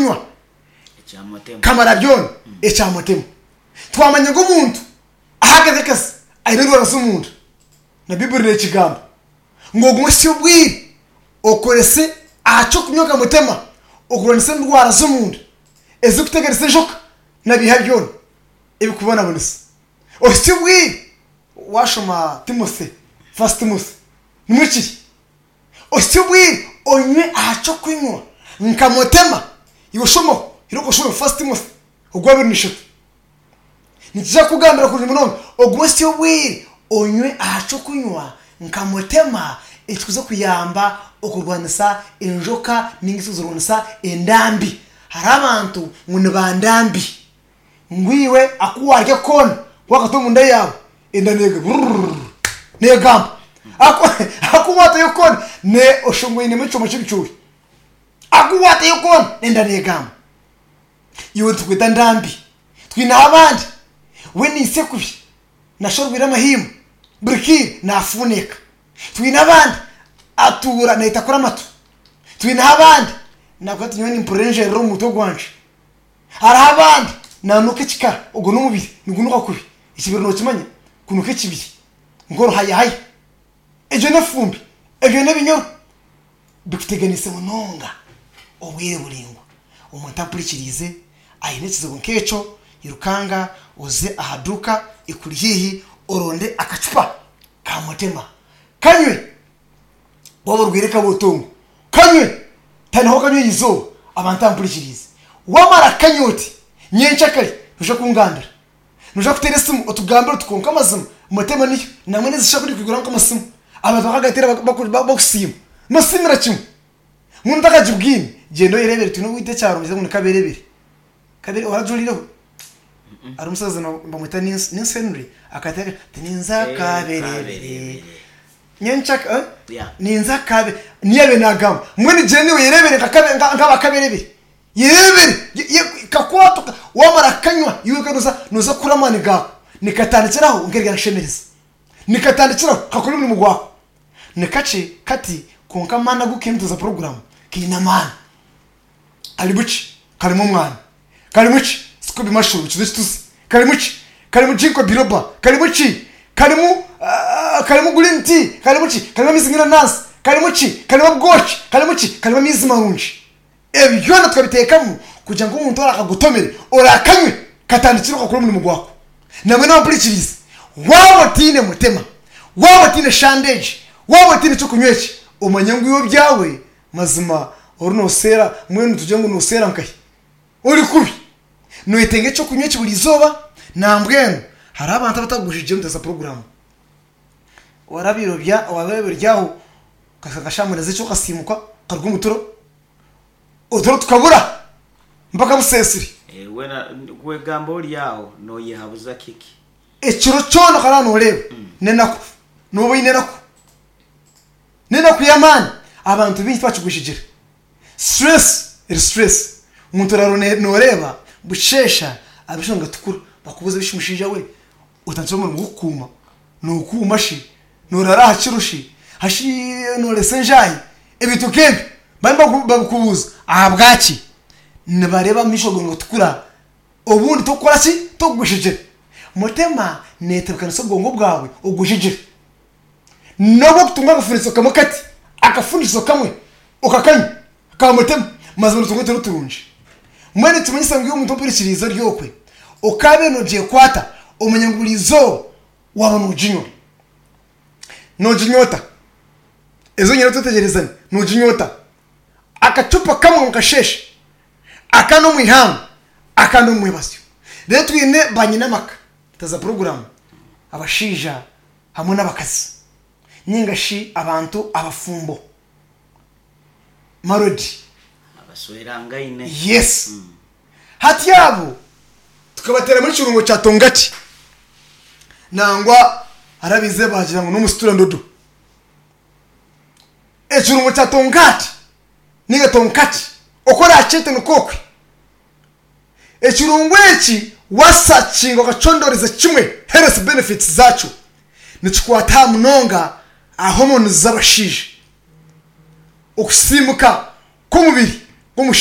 ky'okunywa kamara byona ekya mutema. Twamanya ngu omuntu ahagaze akazi aine endwara z'omunda na Baiburi nekigamba ngu ogume ohitsye obwire okorese aha ky'okunywa nka mutema okurwanisa endwara z'omunda ezirikuteganisa enjoka na biiha byona ebikubonabonesa. Ohitsye obwire washoma Timothy, First Timothy, nimwo kiri. Ohitsye obwire onywe aha ky'okunywa nka mutema. Iwe shomaho, irooko oshome First Timothy ogwabiri na ishatu. Nikija kukugambira kurungi munonga ogume ohitsye obwire onywe aha ky'okunywa nka mutema ekikuza kuyamba okurwanisa enjoka ninga ekikuza kurwanisa endambi. Hariho abantu ngu ni ba ndambi. Ngu iwe aku waarya koona waakata omunda yaawe enda neega brrrr neegamba. Aku aku waatayo koona ne oshusha ngu oinemu ekyoma ky'ebicoori. Aku waatayo koona enda neegamba. Iwe nitukweta ndambi. Twineho abandi we naitsya kubi nashusha orwaire amahimba buri kaire naafuuneeka. Twine abandi atuura naitakura amatu. Twineho abandi naakugira ati nyowe nimpurira enjerera omu mutwe gwangye. Hariho abandi nanuka ekikara, ogwo n'omubiri nigunuka kubi, ekibiri nokimanya kunuka ekibiri nk'oruhayahaya. Egyo n'efumbi, ebyo n'ebinyoro bikuteganise munonga obwire buraingwa. Omuntu ampurikiriize aine ekizibu nk'ekyo, irukanga oze aha duuka ekuri haihi oronde akacupa ka mutema kanywe. Waaba orwaire kabotongo, kanywe! Tandika okanywa erizooba abantu ampurikiriize. Waamara kukanywa oti, nyenkyakare noija kungambira. Noija kuteera esimu otugambire oti kwonka amazima Mutema niyo nangwa n'ezi shaaha ku ndikwiguraho nk'amasimu abantu bakagateera bakusiima. Nibasiimira kimwe. Mbwenu otakagibwine gyenda oyereebere twine owaitu ekyaro nibagira ngu ni Kaberebere. Kabere orajurireho? Hariho omusaza nibamweta Nince Henry akateera ati ninza Kaberebere. Nyenkyaka Yeah. ninza kabe niyo yabaire nagamba mbwenu gyenda iwe yerebere nka kabe nka nk'aba kaberebere yerebere ye- ye- kakwata oka- wamara kukanywa iwe wenka noza noza kukura amaani gaawe nikatandikiraho nk'eryanshemereza nikatandikiraho kakora omurimo gwako nikakye kati kwonka amaani agu kaine tuza puroguramu kaine amaani Karimu ki? Karimu omwani. Karimu ki? Scoby mushroom, ekizo ekituzi. Karimu ki? Karimu ginkgo biloba. Karimu ki? Karimu karimu green tea. Karimu ki? Karimu amaizi g'enanansi. Karimu ki? Karimu obwoki. Karimu ki? Karimu amaizi marungi. Ebi byona tukabiteekamu kugira ngu omuntu orakagotomere, orakanywe, katandikire kakore omurimo gwako. Nambwenu abampurikiriize, waaba otaine mutima, waaba otaine shande egi, waaba otaine ky'okunywa eki, omanye ngu iwe ebyawe Mazima ori noseera mbwenu tugire ngu noseera nkahi? Ori kubi. Noyetenga ekyokunywa eki buri izooba nambwenu hariho abantu abatakugushigiire omu za puroguramu. Warabiire wabaire ori aho okahika nka shaaha mwenda z'ekiro okasiimuka okaruga omu turo, oturo tukabura mpaka buseesire. Weena kwegamba ori aho noyehabuza kiki? Ekiro kyona okarara noreeba n'enaku, nooba oine enaku. N'enaku y'amaani abantu baingi tibakigwejegyera. Stress eri stress. Omuntu oraara noreeba busheesha amaisho nigatukura bakubuuza ebishi mushaija we otandikire omurimo gw'okukuuma nokuuma shi? Noraara aha kiro shi? Hashi noresa enjaahi? Ebintu nk'ebyo bariyo nibabikubuuza ahabwaki? Nibareeba amaisho gaawe nigatukura obundi tokukora ki? Tokugwejegyera. Mutema neetebeekanisa obwongo bwawe ogwejegyere. N'obu okutunga akafundikizo kamwe kati, akafundikizo kamwe okakanywa ka mutima, mazima notunga oturo turungi. Mbwenu nikimanyisa ngu iwe omuntu ompurikiriize ori okwe, okaabaire noogyekwata, omanye ngu buri izooba waaba nooginywa. Nooginywa ota? Ezo nyine twetegyerezane, nooginywa ota? Akacupa kamwe omu kasheeshe, akandi omu ihangwe, akandi omu mwebazyo. Reero twine banyina amaka, taza puroguraamu, abashaija hamwe n'abakazi ninga shi abantu abafumbo married. Abaswerangaine. Yes. Hati abo tukabateeramu ekirungo kya tongati nangwa hariho abaize baagira ngu n'omusitura ndodo. Ekirungo kya tongati ninga tonkati oku oraakyete nikwo okwe. Ekirungo eki wasakinga okacondoreza kimwe health benefits zakyo, nikikwata aha munonga aha hormones z'abashaija, okusiimuka kw'omubiri.